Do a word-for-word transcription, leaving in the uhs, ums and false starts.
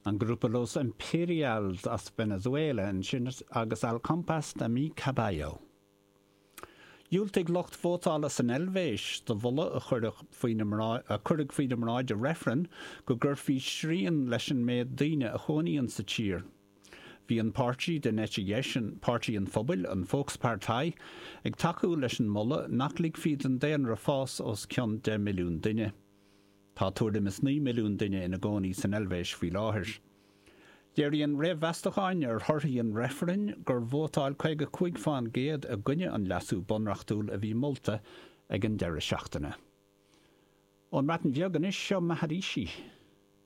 An grúpa Los Imperials as Venezuela ansin agus Al Compás de mi Caballo. Dhiúltaigh lucht vótála san Eilvéis do mholadh a cuireadh faoina mbráid i reifreann go gcuirfí srian leis an méid daoine a chónaíonn sa tír. Bhí an páirtí den eite dheis, Páirtí an Phobail, an Volkspartei, ag tacú leis an moladh nach ligfí don daonra fás os cionn deich milliún duine. Tá tuairim is naoi milliún duine ina gcónaí san Eilvéis faoi láthair. Léiríonn réamh-mheastacháin ar thorthaí an reifrinn gur vótáil caoga cúig faoin gcéad i gcoinne an leasú bunreachtúil a bhí molta ag an deireadh seachtaine. Ón mBreatain Bheag anois, seo Maharishi.